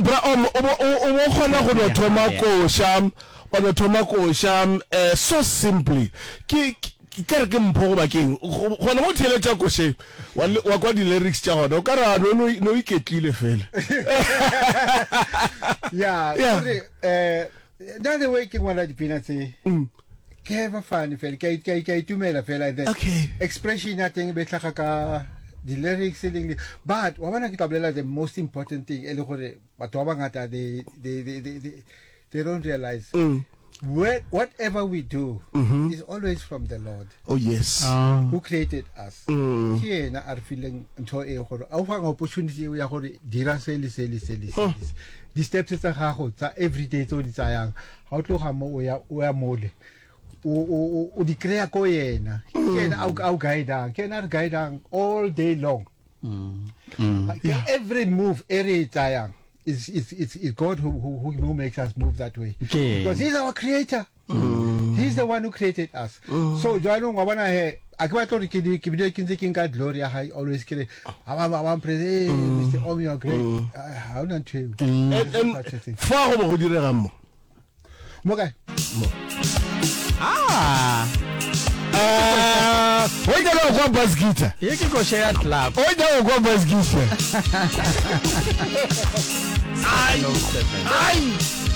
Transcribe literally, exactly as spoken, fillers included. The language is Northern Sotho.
Bra Om, o bo o bo kgona go no thoma koša, wa no thoma koša um so simply. Ke ke re ke mpho goba keng? Gona mo theeletša košeng, wa wa kwa di-lyrics tša gona, o ka re a no no iketlile fela. Yeah, Yeah. kore eh nna the way ke ngwala dipina tse ke have fun fela ke a- ke a ke a itumela fela then Okay. expression ya teng e be tlhaga ka di-lyrics e leng but wa bona ke tla bolela the most important thing e le gore batho ba bangata they, they, they, they, they, they don't realize Mm. Where, whatever we do is always from the Lord Oh yes. who created us Mm. ke yena a re fileng ntho e gore a o fang opportunity eo ya gore dira se le se le se le se le se. di-steps tsa gago tsa everyday tse o di tsayang ga o tloga mo o ya o ya mole o o o- o di kry-a ko yena ke yena a o- a o guidang ke yena a re guidang all day long Ke every move e re e tsayang is is is is God who who who makes us move that way Okay. because he's our creator he's the one who created us so jaanong wa bona he a ke batla gore ke di- ke bile ke ntse ke nka glory ya hae always ke re ha ba ba praise hey Mr Om you are great Ah, ha ona ntho eo And, and Such a thing. fa go bo go diregang mo. mo kae ah Eh, o nyaka go kwa bass guitar. ye ke koša ya club O nyaka go kwa bass guitar. Ai. Ai.